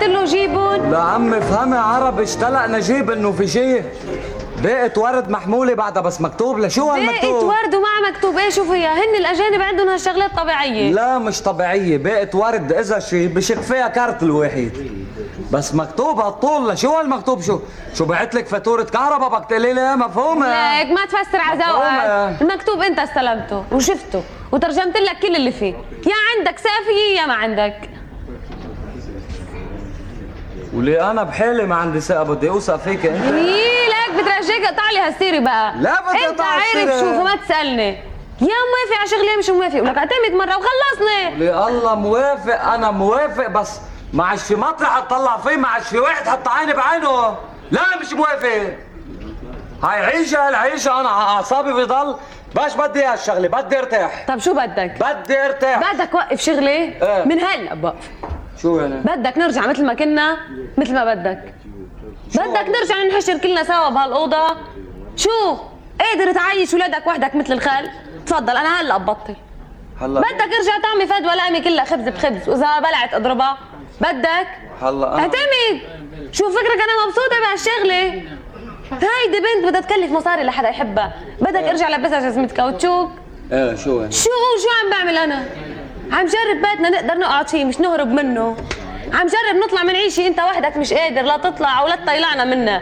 قلت له جيبن؟ لا عمي فهمي عربي، اشتلق نجيب انه في شيء باقة ورد محمولة بعدها بس مكتوب. لشو هالمكتوب؟ باقة ورد ومع مكتوب ايه؟ شو فيها؟ هن الاجانب عندهم هالشغلات طبيعية. لا مش طبيعية، باقة ورد اذا شيء بشق فيها كارت الواحد بس مكتوب هالطول. لشو هالمكتوب؟ شو بعتلك فاتورة كهرباء بدك تقولي لي مفهومة؟ ليك ما تفسر على ذوقك، المكتوب انت استلمته وشفته وترجمت لك كل اللي فيه، يا عندك سافية يا ما عندك. ولي انا بحالي ما عندي ثقة بدي اوثق فيك انت. ليك بدي اقطع لي هالسيرة بقى. لا بدي اقطع السيرة. انت عارف شو فما تسألني يا موافق على شغلي مش موافق ولك اعتمد مرة وخلصني. ولي الله موافق، انا موافق بس ما عادش في مطرح اطلع فيه، ما عادش في واحد حط عيني بعينه. لا مش موافق. هاي عيشة هالعيشة انا على اعصابي بضل باش بدي هالشغلة، بدي ارتاح. طب شو بدك؟ بدي ارتاح. بدك وقف شغلي؟ ايه. من هلا بوقف. شو يعني؟ بدك نرجع مثل ما كنا مثل ما بدك. بدك نرجع ننحشر كلنا سوا بهالأوضة؟ شو؟ قادر تعيش ولادك وحدك مثل الخال؟ تفضل انا هلا ببطل. هلا بدك ارجع طعمي فد ولقمة كلها خبز بخبز واذا بلعت اضربها؟ بدك؟ هلا اعتمد. شو فكرك انا مبسوطة بهالشغلة؟ هيدي بنت بدها تكلف مصاري لحدا يحبها، بدك ارجع لبسها جزمة كاوتشوك؟ ايه شو يعني؟ شو عم بعمل انا؟ عم جرب بيتنا نقدر نقعد فيه مش نهرب منه. عم جرب نطلع من عيشي، انت وحدك مش قادر لا تطلع ولا تطيلعنا منه.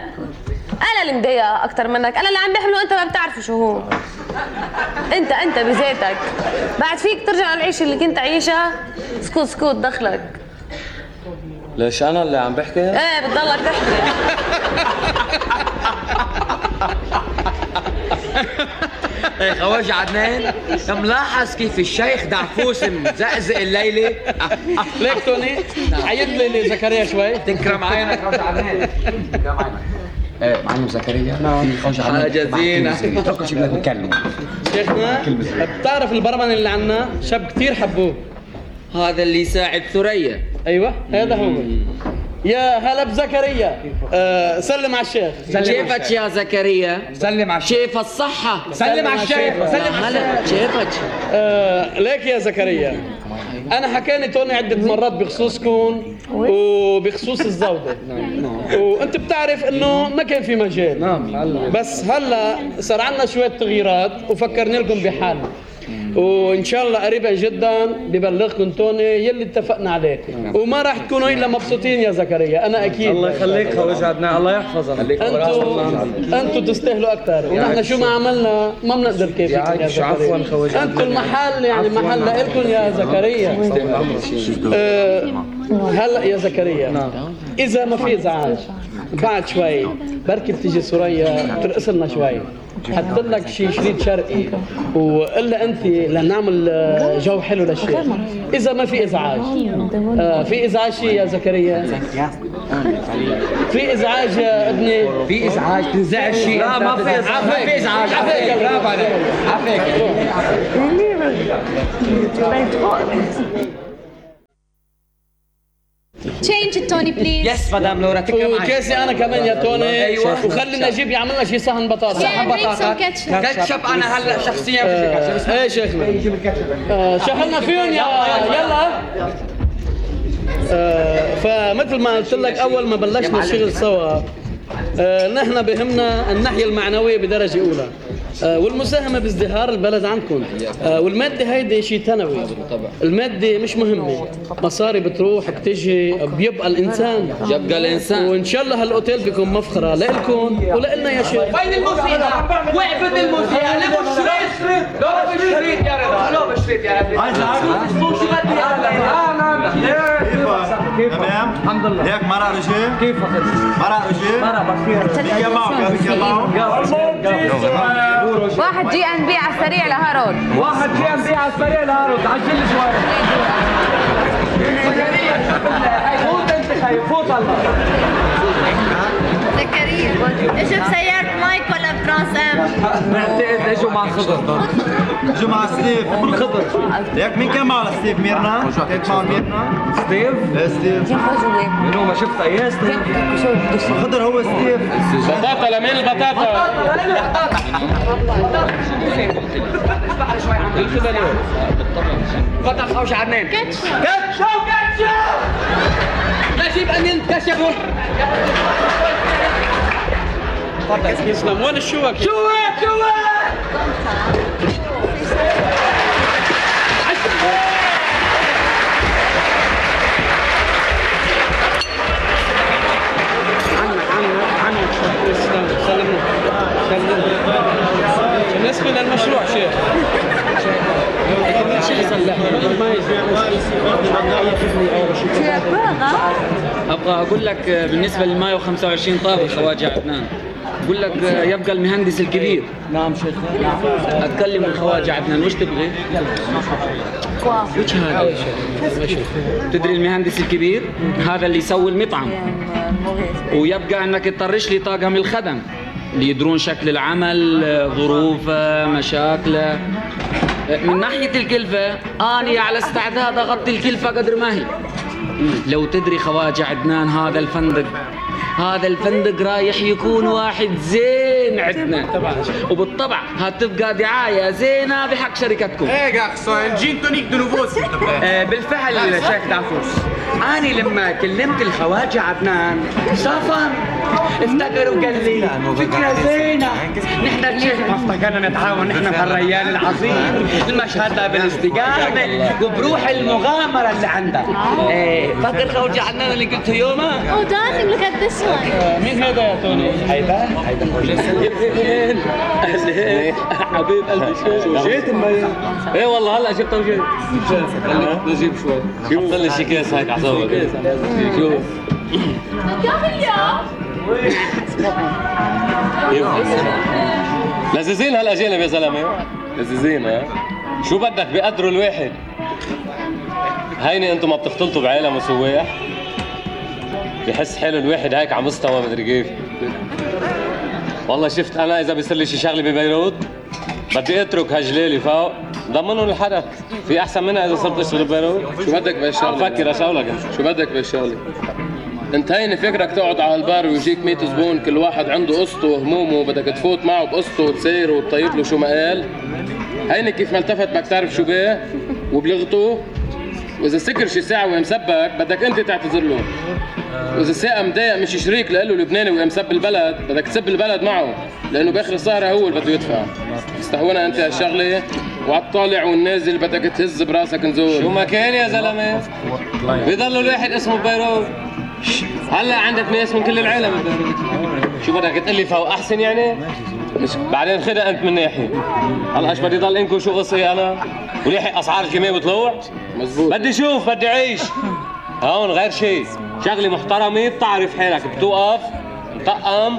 انا اللي مضايقه اكثر منك، انا اللي عم بحمله انت ما بتعرفه شو هو. انت بذاتك بعد فيك ترجع للعيشه اللي كنت عايشها. سكوت دخلك. ليش انا اللي عم بحكي؟ ايه بتضلك تحكي. ايه خواجة عدنان، ملاحظ كيف الشيخ دعفوس مزقزق الليلة؟ ليك توني عيد لي زكريا شوي. تنكرم عينك خواجة عدنان. تنكرم عينك. ايه معلم زكريا. نعم خواجة عدنان. حاجة زينة. اتركوا شي بدنا نتكلم. شيخنا بتعرف البرمن اللي عنا شاب كثير حبوه. هذا اللي يساعد ثريا. ايوه هذا هو. يا هلا بزكريا. سلم على الشيخ. كيفك يا زكريا؟ سلم على الشيخ. كيف الصحة؟ سلم على الشيخ. سلم على الشيخ. هلا كيفك؟ ليك يا زكريا، أنا حكاني توني عدة مرات بخصوصكم وبخصوص الزودة، وأنت بتعرف إنه ما كان في مجال. نعم. بس هلا صار عنا شوية تغييرات وفكرنا لكم بحالنا، وإن شاء الله قريبا جدا ببلغكم توني يلي اتفقنا عليه، وما راح تكونوا إلا مبسوطين يا زكريا، أنا أكيد. الله يخليك خواجة عدنان، الله يحفظنا. أنتوا تستاهلوا أكثر، ونحن شو ما عملنا ما بنقدر كيف يا زكريا. عفوا خواجة. أنتم المحل يعني محل لكم يا زكريا. هلا يا زكريا، إذا ما في إزعاج بعد شوي بركي بتيجي سوريا ترقص لنا شوي، حط لك شي شريط شرقي وإلا أنت لنعمل جو حلو للشيخ. إذا ما في إزعاج، في إزعاج شي يا زكريا؟ في إزعاج يا ابني؟ في ازعاج تنزعج شيء. لا ما في ازعاج. ما في ازعاج. عفيك برافو عليك. عفيك. Change it, Tony, please. يس مدام لورا تكرم عينك. وكاسي أنا كمان يا توني. أيوة. وخلي نجيب يعمل لنا شي صحن بطاطا. Yeah, bring some ketchup. كاتشب أنا هلا شخصيا بدي ايه شيخنا. شغلنا فيهم يلا. فمثل ما قلت لك اول ما بلشنا الشغل سوا، نحن بهمنا الناحيه المعنويه بدرجه اولى، والمساهمه بازدهار البلد عندكم، والماده هيدي شيء ثانوي. الماده مش مهمه، مصاري بتروح بتجي، بيبقى الانسان. وان شاء الله هالاوتيل بيكون مفخره لكم ولنا يا شيخ. وين الموسيقى؟ وقفت الموسيقى، لبوا الشريط. لبوا الشريط يا رضا، لبوا الشريط يا رضا. عايز اعرف شو بدي تمام الحمد لله. هيك مرق رجال؟ كيفك؟ مرق رجال؟ مرق بخير. يا معك. واحد جي ان بي على السريع لهارون. واحد جي ام بي على السريع لهارون، عجل لي شوي. فوت انت خايف، فوت الله. زكريا اجوا بسيارة مايك ولا بترانس ام؟ بعتقد اجوا مع خضر. اجوا مع ستيف. خضر. هيك مين كان معه ستيف؟ ميرنا؟ كانت معه ميرنا؟ ستيف؟ ايه ستيف. منو ما شفت اياه ستيف؟ خضر هو ستيف. بطاطا لمين البطاطا؟ فتح خوش عدنان. كاتشب. كاتشب. نجيب التانيين كشفوا. تسلم. وين الشوك؟ شوك بالنسبة للمشروع شيخ ابغى اقول لك بالنسبه لل 125 طابق خواجه عدنان، بقول لك يبقى المهندس الكبير. نعم شيخ. اتكلم الخواجه عدنان، وش تبغي؟ وش هذا؟ تدري المهندس الكبير هذا اللي يسوي المطعم، ويبقى انك تطرش لي طاقم الخدم اللي يدرون شكل العمل، ظروفه، مشاكله. من ناحيه الكلفه اني على استعداد اغطي الكلفه قدر ما هي. لو تدري خواجه عدنان هذا الفندق رايح يكون واحد زين عندنا، وبالطبع هتبقى دعاية زينة بحق شركتكم. ايه garçon, جين تونيك دو نوفو s'il te plaît. بالفعل شيخ دافوس، أنا لما كلمت الخواجة عدنان صافن افتكر وقال لي فكرة زينة. نحن شيخ ما افتكرنا نتعاون نحن بهالريال العظيم، المشهد ده بالاستقامة وبروح المغامرة اللي عندك. فاكر خواجة عدنان اللي قلته يومها؟ Oh darling, look at this one. مين هذا يا توني؟ هيدا حبيب قلبي. شو جيت المي؟ ايه والله هلا جبت وجيت. نجيب شوي. حط لي شي كيس هيك عصابك. شوف لذيذين هالاجانب يا زلمه، لذيذين. ها شو بدك بيقدروا الواحد. هيني انتم ما بتختلطوا بعالم وسواح، بحس حاله الواحد هيك على مستوى مدري كيف. والله شفت انا اذا بيصير لي شي شغله ببيروت بدي اترك هالجلالي فوق ضمنهم الحدث. في احسن منها اذا صرت اشتغل ببيروت. شو بدك بهالشغله؟ بفكر اشغلك. شو بدك بهالشغله؟ انت هيني فكرك تقعد على البار ويجيك 100 زبون كل واحد عنده قصته وهمومه وبدك تفوت معه بقصته وتسير وتطيب له شو ما قال. هيني كيف ما التفت بدك تعرف شو بيه وبلغته، واذا سكر شي ساعه ومسبك بدك انت تعتذر له، واذا الساعه مضايق مش شريك له لبناني ومسب البلد بدك تسب البلد معه، لانه باخر السهره هو اللي بده يدفع. استهونا انت هالشغله وعالطالع والنازل بدك تهز براسك نزول. شو ما كان يا زلمه بيضل الواحد اسمه ببيروت. هلا عندك ناس من كل العالم ببيروت. شو بدك تقول لي فوق احسن يعني؟ مش بعدين خدها انت من ناحيه. هلا ايش بدي ضل انكم شو قصي انا وليحق اسعار الكيماوي وطلوع؟ مزبوط. بدي شوف بدي عيش هون غير شيء. شغله محترمه بتعرف حالك، بتوقف مطقم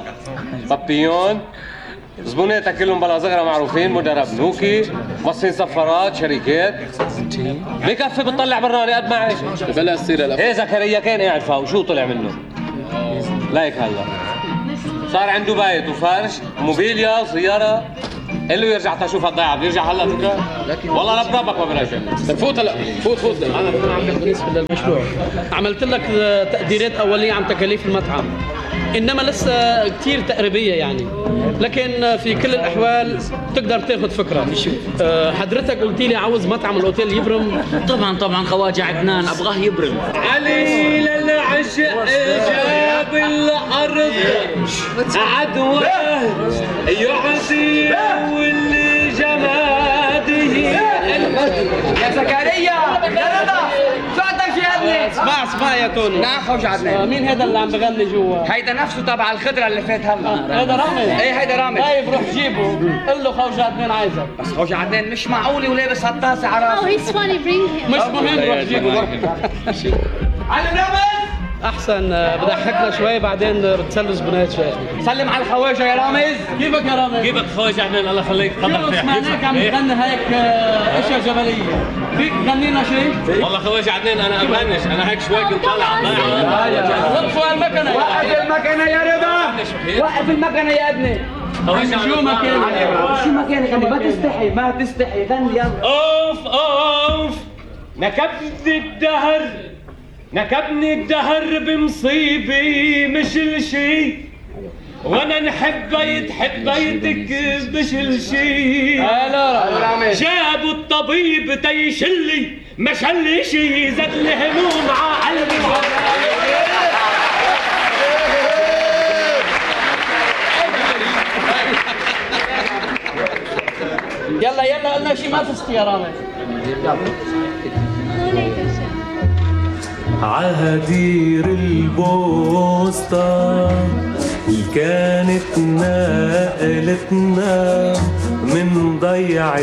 بابيون، زبوناتك كلهم بلا صغرى معروفين، مدرب نوكي، موصين سفارات، شركات. بكفي بتطلع براني قد ما عيش. بلا السيره. ايه زكريا كان قاعد فوق شو طلع منه؟ لايك هلا صار عنده بيت وفرش وموبيليا وسياره. قال له يرجع تشوف هالضيعه بيرجع هلا فكره؟ والله لا بربك ما برجع. فوت هلا فوت. انا بالنسبه للمشروع عملت لك تقديرات اوليه عن تكاليف المطعم، انما لسه كثير تقريبيه يعني، لكن في كل الاحوال تقدر تاخذ فكره. حضرتك قلت لي عاوز مطعم الاوتيل يبرم. طبعا خواجه عدنان ابغاه يبرم. علي للعشق جاب الارض عدوى يعزي واللي جماده. يا زكريا يا رضا شو عندك يا ابني؟ اسمع يا توني. نعم خوج عدنان. مين هذا اللي عم بغني جوا؟ هيدا نفسه تبع الخضره اللي فات هلا. هذا رامز. ايه هيدا رامز. طيب روح جيبه قل له خوج عدنان عايزك. بس خوج عدنان مش معقول ولابس هالطاسه على Oh, راسه. he's funny. Bring him. مش مهم روح جيبه. علم رامز احسن بضحكنا شوي بعدين بتسلوا زبونات شوي. سلم على الخواجه يا رامز. كيفك يا رامز؟ كيفك خواجه عدنان الله يخليك. تفضل. سمعناك عم تغني هيك اشياء جبليه، فيك تغني لنا شيء؟ والله خواجه عدنان انا بغنش، انا هيك شوي كنت طالع على الضيعه. وقفوا المكنه. وقف المكنه يا رضا. وقف المكنه يا ابني. شو مكانك؟ شو مكانك؟ ما تستحي غني يلا. اوف نكبني الدهر بمصيبي مش الشي، وانا نحب بيتك مش الشي. جابوا الطبيب تيشلي ما شلي شي، زاد الهموم ع قلبي يلا قلنا شيء ما فزت يا رامي. عهدير البوسطة كانت نقلتنا من ضيعة